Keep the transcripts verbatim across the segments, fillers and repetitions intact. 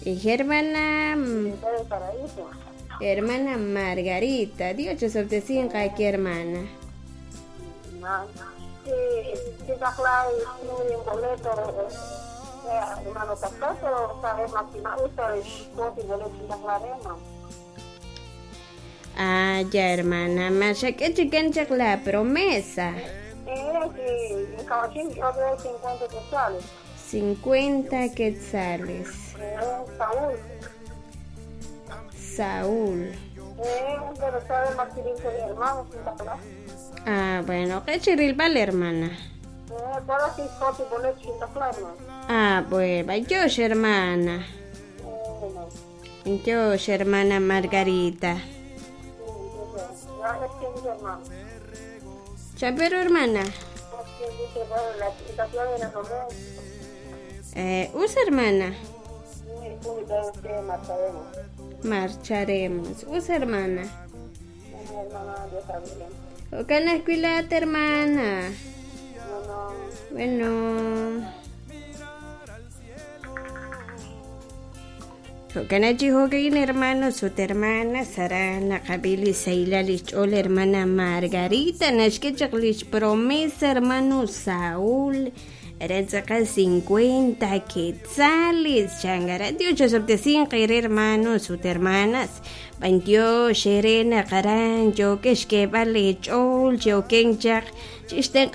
Hermana Hermana Margarita, Dios te aquí hermana. Ah, ya hermana, que la promesa. cincuenta quetzales. Saúl. Saúl. Ah, bueno, ¿qué chirilbal, hermana? Ah, bueno, yo, hermana. Yo, hermana Margarita. Chapero, hermana. Eh, usa, hermana. Marcharemos. Usa, hermana. Ocana escuela, hermana. Bueno. Ocana chihogain, hermano, su hermana, Sarana, Kabili, Seila, Lichol, hermana Margarita, Nashkechaklich, promesa, hermano Saúl. Eran cincuenta quetzales, changara, Dios hermanos, sus hermanas, Bantio, Sherena, Karan, Yokesh, Vale, Chol, Yokenchak, Chisten,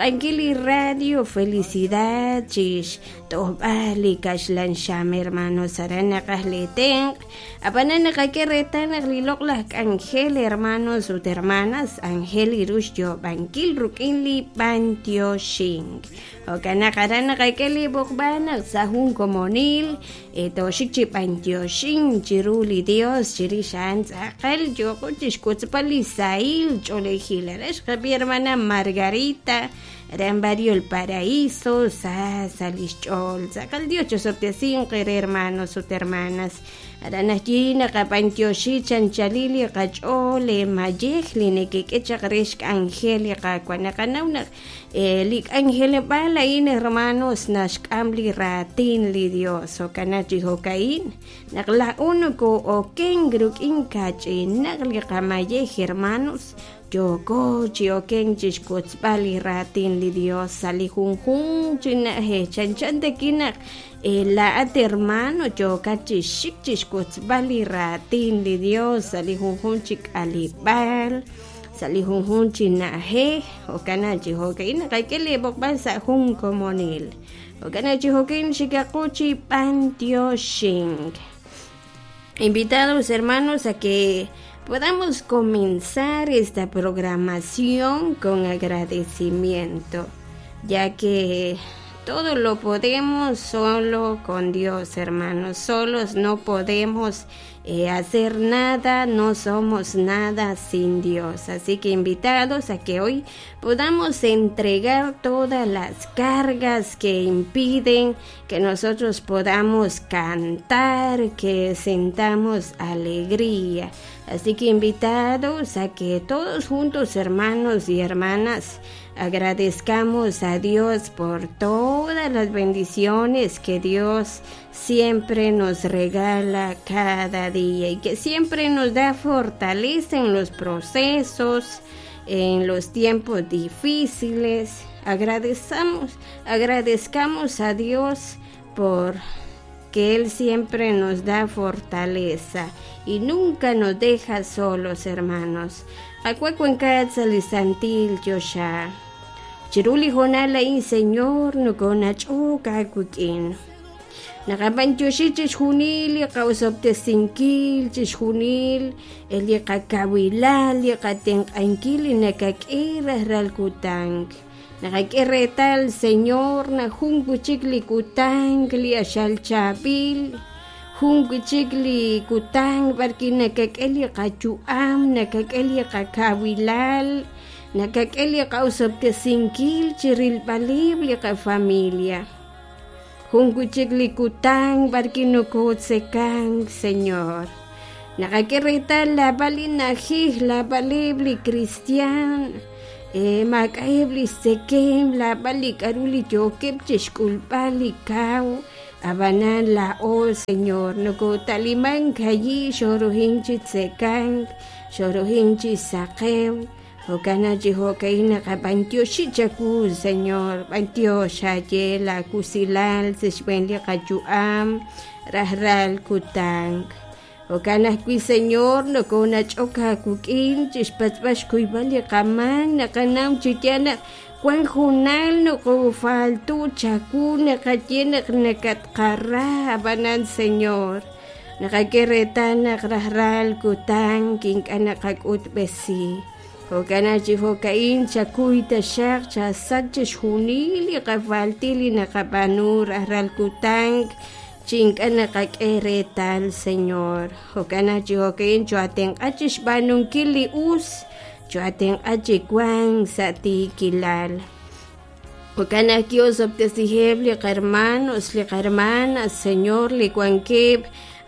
Radio, Felicidad, Chish, Tobali, Kashlan, Sham, hermanos, Arana, Kahleten, Apanana, Kakeretan, Lilok, Ángel, hermanos, sus hermanas, Ángel, Irush, Yo, Banquil, Rukinli, Bantio, Shing. Okana, Karana, Kakeli, Bokbana, Sahun, Comonil, Etoshik, Bantio, Shing, Chiruli, Dios, Chirishan, Zakal, Yoko, Chishkutzpali, Sail, Cholejila, hermana Margarita, Rambario el Paraíso, Sa, Salischol, Zakal, Dios, Chosoptesin, hermanos, sus hermanas, Aranajina, Kapantioshi, Chanchalili, Kachole, Mayejli, Nekekechakreshk, Angélica, Cuanacanauna, Lik Ángel, Balain, hermanos, Nashkamli, Ratin, li Dios, Okanachi, Jocaín, Nagla Unuko, Okengruk, Inkachi, Nagli, Kamayej, hermanos, Yoko, Chioken, Chishkutzbali, Ratin, li Dios, Sali, Jun, Jun, Chinaje, Chanchan de Kinak, La at hermano, Yokachi, Shik, Chishkutzbali, Ratin, li Dios, Sali, Jun, Jun, Chik, Alibal, Sali, Jun, Jun, Chinaje, Okanachi, Jocaín, Kaikele, Bokban, Sa, Jun, Comonil, Okanachi, Jocaín, Shikakuchi, Pantio, Shing. Invitados, hermanos, a que podamos comenzar esta programación con agradecimiento, ya que todo lo podemos solo con Dios, hermanos. Solos no podemos eh, hacer nada, no somos nada sin Dios. Así que invitados a que hoy podamos entregar todas las cargas que impiden que nosotros podamos cantar, que sentamos alegría. Así que invitados a que todos juntos, hermanos y hermanas, agradezcamos a Dios por todas las bendiciones que Dios siempre nos regala cada día y que siempre nos da fortaleza en los procesos, en los tiempos difíciles. Agradezcamos, agradezcamos a Dios por que Él siempre nos da fortaleza y nunca nos deja solos, hermanos. Acuacuencatzalisantil yosha. Chiruli jonala in Señor no conachuca cuquin. Nakapanchoshi chishunil, kausoptesinkil, chishunil, eliakakawilal, liakatenkankil, nakakira ralkutang. Nakakiretal, Señor, na junguchikli kutang, liashalchapil. Junguchikli kutang, barki nakakeli kachuam, nakakeli kakawilal. Nakakeli kausoptesinkil, chirilpalib, liaka familia. Junguchikli kutang, barki nukutsekang, Señor. Nakakiretal, la balinajij, la balibli cristian. Eh, makaibli sekem, la bali karuli yokep chishkulpali kaw. Ab'anan laa'o Señor nokotaliman kayi xorujin chi tzekank xorujin chi saqew jo'kan chi jo'ka'in naqab'antioxi chawu Señor b'antiox xaye la kusilal sa' xb'een li qayu'am rajlal kutan jo'kan ajwi' Señor nokonach'ok aawik'in chixpatz'b'al xkuyb'al li qamaak naqanaw chi yaal naq wan junal nokofaltu chawu naqaye naq nakatqara ab'anan Señor naqak'e reetal naq rajlal kutan ink'a' naqak'utb'esi jo'kan chi jo'ka'in chakuy taxaq chasach chixjunil li qafaltil li naqab'aanu rajlal kutan chi ink'a' naqak'e reetal Señor jo'kan chi jo'ka'in choatenq'a chixb'aanunkil li us choatenq'a chi wank sa' tiikilal jo'kan ajwi' osob'tesiheb' li qarmanos li qarmanas Señor li wankeb'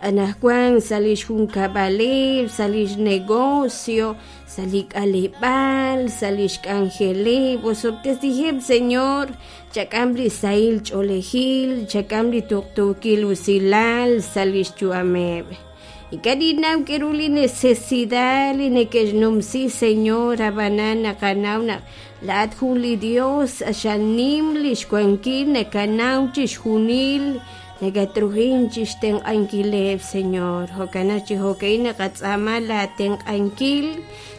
anajwan sa' lix junkab'aleb' sa' lix negocio sa' li k'aleb'aal sa' lix k'anjeleb' osob'tesiheb' Señor chak'am li sahil ch'oolejil chak'am li tuqtuukil usilal sa' lix yu'ameb' ink'a' ninnaw k'aru li necesidad li neke'xnumsi Señor ab'anan naqanaw naq laa'at jun li Dios xanim li xwankil nakanaw chixjunil nakatrujin chixtenq'ankileb' Señor jo'kan chi jo'ka'in naqatz'aama laatenq'ankil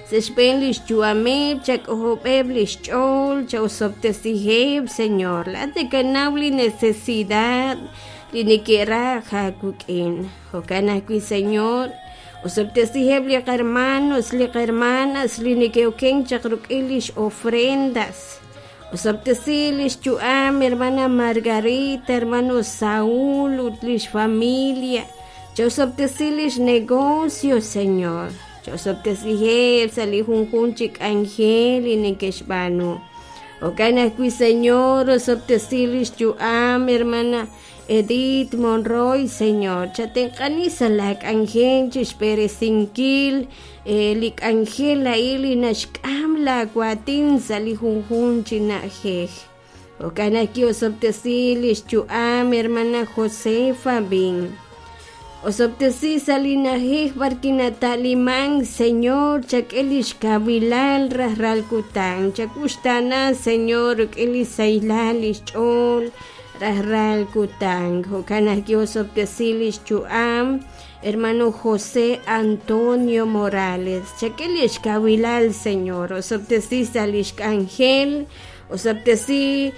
sa' xb'een lix yu'ameb' chak'ojob'eb' lix ch'ool chaosob'tesiheb' Señor laa'at nakanaw li necesidad li neke'raj aawik'in jo'kan ajwi' Señor osob'tesiheb' li qarmanos li qarmanas li neke'oken chaq ruk'in lix ofrendas osob'tesi lix yu'am hermana Margarita hermano Saúl ut lix familia chaosob'tesi lix negocio Señor chaosob'tesiheb' sa' li junjun chi k'anjel li neke'xb'aanu jo'kan ajwi' Señor osob'tesi lix yu'am hermana Edith Monroy Señor chatenq'ani sa' la k'anjel chixb'eresinkil li k'anjel a'in li naxk'am laawatin sa' li junjun chi na'ajej jo'kan ajwi' osob'tesi lix yu'am hermana Josefa Bin osob'tesi sa' li na'ajej b'arwi' nata'liman Señor chak'e lix kawilal rajlal kutan chakuxtaana Señor rik'in li sahilal lix ch'ool rajlal kutan jo'kan ajwi' osob'tesi lix yu'am hermano José Antonio Morales chak'e lix kawilal Señor osob'tesi sa' lix k'anjel osob'tesi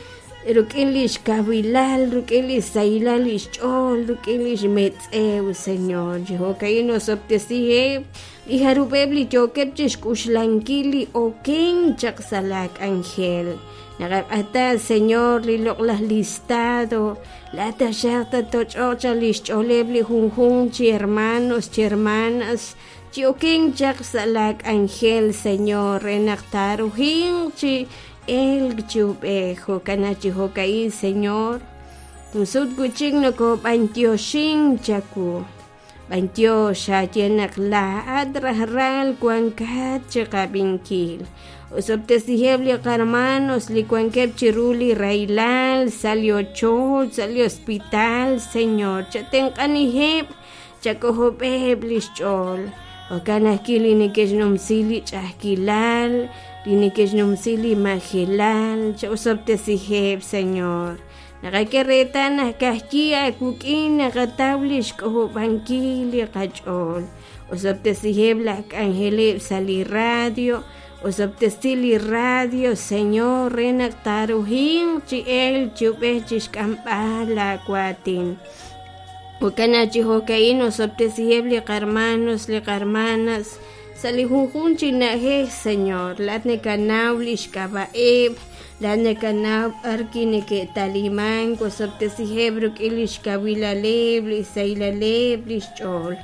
rik'in lix kawilal rik'in li sahilal lix ch'ool rik'in lix metz'ew Señor jo'ka'in osob'tesiheb' li jarub'eb' li yookeb' chixk'uxlankil li oken chaq sa' la k'anjel naqaq'ata Señor li loq'laj listado laa'at taxaq tatoch'oq chaq lix ch'ooleb' li junjun chi hermanos chi hermanas chi oken chaq sa' la k'anjel Señor re naq taarujinq chi elk chi ub'ej jo'kan chi jo'ka'in Señor junsut wi'chik nokob'antioxin chawu b'antiox xaye naq laa'at rajlal wankat chiqab'inkil osob'tesiheb' li qarmanos li wankeb' chiru li rahilal sa' li ochoch sa' li hospital Señor chatenq'aniheb' chak'ojob'eb' lix ch'ool jo'kan ajwi' li neke'xnumsi li ch'a'ajkilal li neke'xnumsi li majelal chaosob'tesiheb' Señor naqak'e reetal naq ka'ajwi' aawik'in naqataw lix k'ojob'ankil li qach'ool osob'tesiheb' laj k'anjeleb' sa' li radio osob'tesi li radio Señor re naq taarujinq chi elk chi ub'ej chixk'amb'al laawatin jo'kan chi jo'ka'in osob'tesiheb' li qarmanos li qarmanas sa' li junjun chi na'ajej Señor laa'at nakanaw lix k'ab'a'eb' laa'at nakanaw b'arwi' neke'talimank osob'tesiheb' rik'in lix kawilaleb' li sahilaleb' lix ch'ool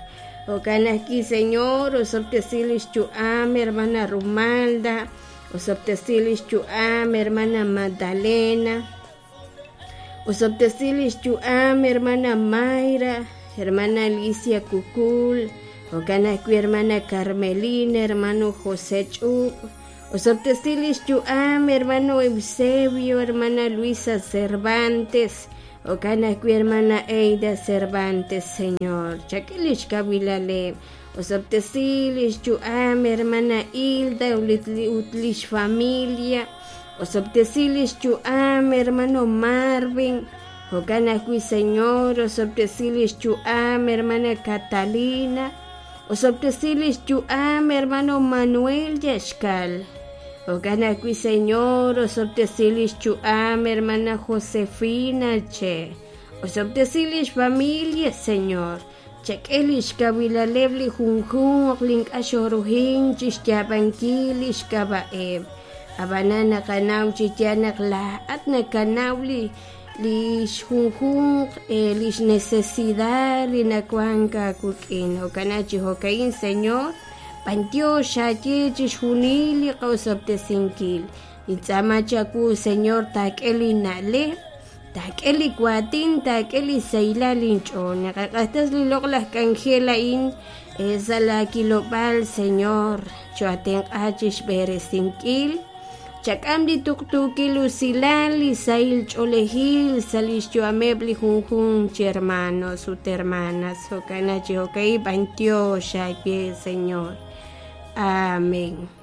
jo'kan ajwi' Señor osob'tesi lix yu'am hermana Rumalda osob'tesi lix yu'am hermana Magdalena osob'tesi lix yu'am hermana Mayra hermana Alicia Kukul jo'kan ajwi' hermana Carmelina hermano José Ch'ub osob'tesi lix yu'am hermano Eusebio hermana Luisa Cervantes Jo'kan ajwi' hermana Eida Cervantes, Señor. Chak'e lix kawilaleb'. Osob'tesi lix yu'am hermana Hilda ut lix familia. Osob'tesi lix yu'am hermano Marvin. Jo'kan ajwi', Señor, osob'tesi lix yu'am hermana Catalina. Osob'tesi lix yu'am hermano Manuel Yaxcal. Jo'kan ajwi', Señor, osob'tesi lix yu'am hermana Josefina Che. Osob'tesi lix familia, Señor. Chak'e lix kawilaleb' li junjunq li ink'a' xoruhin chixyaab'ankil lix k'ab'a'eb'. Ab'anan naqanaw chi yaal naq laa'at nakanaw li lix junjunq lix necesidad li nawank aawik'in. Jo'kan chi jo'ka'in, Señor, b'antiox xaye chixjunil li qa'osob'tesinkil. Nintz'aama chawu, Señor, taak'e li na'leb', taak'e li waatin, taak'e li sahilal inch'ool. Naqaq'axtas li loq'laj k'anjel a'in sa' la kilob'aal, Señor, cho'atenq'a chixb'eresinkil. Chak'am li tuqtuukil usilal li sahil ch'oolejil sa' lix yu'ameb' li junjunq chi hermanos ut hermanas. Jo'kan chi jo'ka'in b'antiox aawe, Señor. Amén.